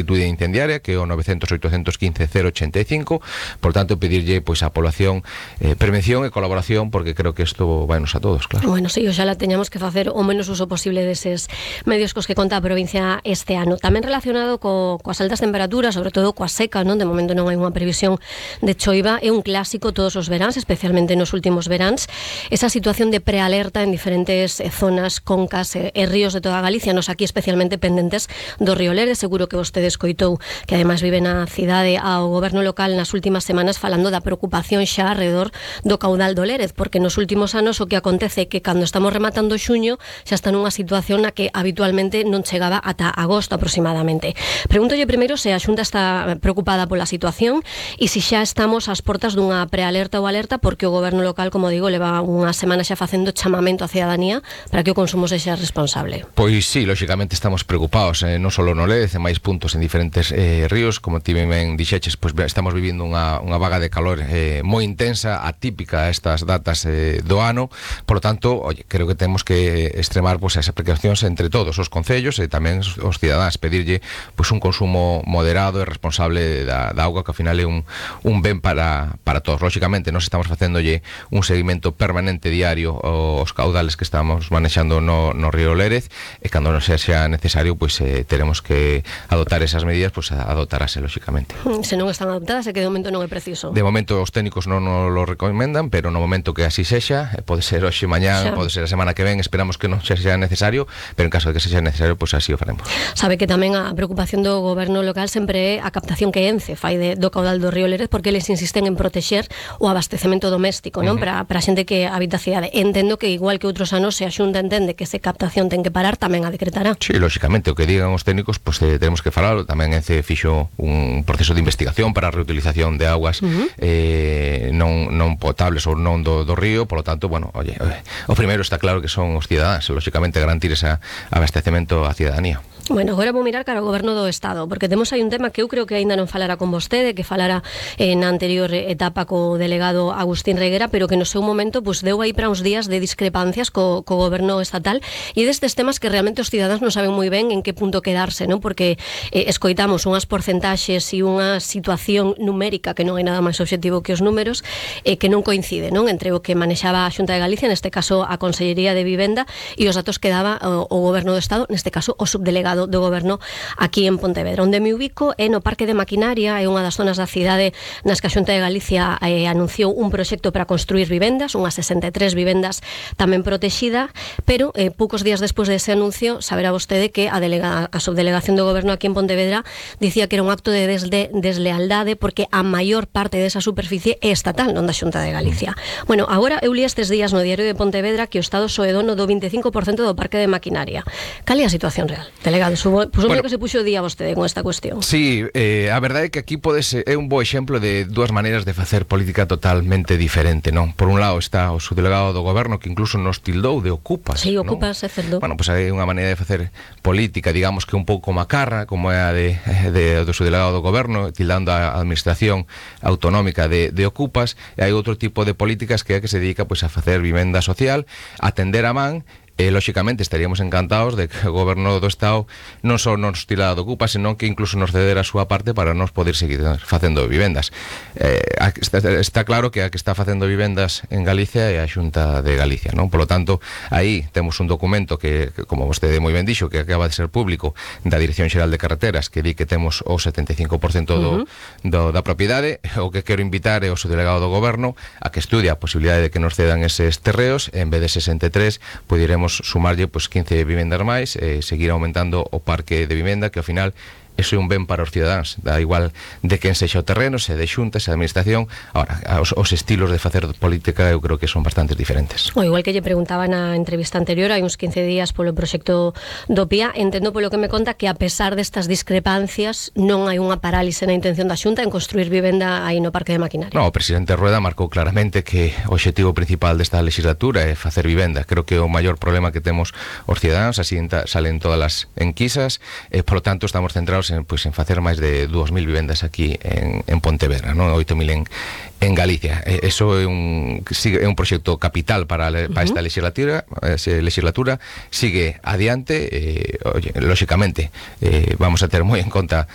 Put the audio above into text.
actitude incendiaria, que é o 900-815-085. Por tanto, pedirlle pois a población prevención e colaboración, porque creo que isto vainos a todos, claro. Bueno, sí, oxalá teñamos que facer o menos uso posible deses medios cos que conta a provincia este ano. Tamén relacionado coas altas temperaturas, sobre todo coa seca, non? De momento non hai unha previsión de choiva, é un clásico todos os veráns, especialmente nos últimos veráns, esa situación de prealerta en diferentes zonas, concas e ríos de toda Galicia, nos aquí especialmente pendentes do río Lérez. Seguro que vostede escoitou, que ademais vive na cidade, ao goberno local nas últimas semanas falando da preocupación xa alrededor do caudal do Lérez, porque nos últimos anos o que acontece é que cando estamos rematando xuño xa está nunha situación na que habitualmente non chegaba ata agosto aproximadamente. Pregúntolle primeiro se a Xunta está preocupada pola situación e se xa estamos ás portas dunha prealerta ou alerta, porque o goberno local, como digo, leva unha semana xa facendo chamamento á cidadanía para que o consumo sexa responsable. Pois sí, lógicamente estamos preocupados, non só no Lérez, en máis puntos en diferentes ríos, como ti ben dixeches, pois estamos vivindo unha vaga de calor moi intensa, atípica a estas datas do ano. Por lo tanto, creo que temos que extremar pois as precaucións entre todos os concellos e tamén os cidadáns, pedirlle pois un consumo moderado e responsable da auga, que ao final é un ben para todos. Lógicamente, nós estamos facéndolle un seguimento permanente diario aos caudales que estamos manexando no río Lérez, e cando non sexa necesario, pois teremos que adoptar esas medidas, pois adoptarase, lógicamente. Se non están adoptadas, é que de momento non é preciso. De momento os técnicos non nos lo recomendan, pero no momento que así sexa, pode ser hoxe, mañán, pode ser a semana que ven, esperamos que non sexa necesario, pero en caso de que sexa necesario, pois así o faremos. Sabe que tamén a preocupación do goberno local sempre é a captación que Ence fai do caudal do río Lérez, porque eles insisten en protexer o abastecemento doméstico, non? Para a xente que habita a cidade. Entendo que igual que outros anos, se a Xunta entende que esa captación ten que parar, tamén a decretará. Sí, lógicamente, o que digan os técnicos, pois tenemos que falarlo. Tamén Ence fixo un proceso de investigación para a reutilización de augas non potables ou non do río. Por lo tanto, bueno, o primeiro está claro que son os cidadáns, lógicamente garantir ese abastecemento á cidadanía. Bueno, agora vou mirar cara ao goberno do Estado, porque temos aí un tema que eu creo que aínda non falara con vostede, que falara na anterior etapa co delegado Agustín Reguera, pero que no seu momento pues, deu aí para uns días de discrepancias co goberno estatal, e destes temas que realmente os cidadáns non saben moi ben en que punto quedarse, non? Porque escoitamos unhas porcentaxes e unha situación numérica que non hai nada máis obxectivo que os números, que non coincide, non? Entre o que manexaba a Xunta de Galicia, neste caso a Consellería de Vivenda, e os datos que daba o goberno do Estado, neste caso o subdelegado do goberno aquí en Pontevedra. Onde me ubico é no Parque de Maquinaria, é unha das zonas da cidade nas que a Xunta de Galicia anunciou un proxecto para construir vivendas, unhas 63 vivendas tamén protexida, pero poucos días despois dese anuncio, saberá vostede que a subdelegación do goberno aquí en Pontevedra dicía que era un acto de deslealdade porque a maior parte desa superficie é estatal, non da Xunta de Galicia. Bueno, agora eu li estes días no Diario de Pontevedra que o Estado soe dono do 25% do Parque de Maquinaria. Cal é a situación real? Delegado, supoño que se puxo día vostede con esta cuestión. Sí, a verdade é que aquí é un bo exemplo de dúas maneiras de facer política totalmente diferente, non? Por un lado está o subdelegado do goberno, que incluso nos tildou de ocupas. Sí, ocupas, é certo. Bueno, pois hai unha maneira de facer política, digamos que un pouco macarra, como é a do subdelegado do goberno, tildando a administración autonómica de ocupas, e hai outro tipo de políticas que é que se dedica pois a facer vivenda social, atender a man. Lógicamente estaríamos encantados de que o goberno do Estado non só nos tirara do ocupa, senón que incluso nos cedera a súa parte para nos poder seguir facendo vivendas. Está claro que a que está facendo vivendas en Galicia é a Xunta de Galicia, non? Por lo tanto, aí temos un documento que como vostede moi ben dixo, que acaba de ser público, da Dirección Xeral de Carreteras, que di que temos o 75% da propiedade. O que quero invitar é o subdelegado do goberno a que estudie a posibilidade de que nos cedan eses terreos, en vez de 63, poderemos sumarlle pues 15 vivendas máis e seguir aumentando o parque de vivenda, que ao final eso é un ben para os cidadáns, da igual de quen sexa o terreno, se de xunta, se de administración. Ahora, os estilos de facer política eu creo que son bastante diferentes. O igual que lle preguntaba na entrevista anterior, hai uns 15 días polo proxecto do PIA, entendo polo que me conta que a pesar destas discrepancias non hai unha parálise na intención da Xunta en construir vivenda aí no Parque de Maquinaria. No, o presidente Rueda marcou claramente que o obxectivo principal desta legislatura é facer vivenda. Creo que o maior problema que temos os cidadáns, así salen todas as enquisas, por lo tanto estamos centrados pois en facer máis de 2.000 vivendas aquí en Pontevedra, non? 8.000 en Galicia. Eso é un proxecto capital para esta legislatura, sigue adiante, lóxicamente vamos a ter moi en conta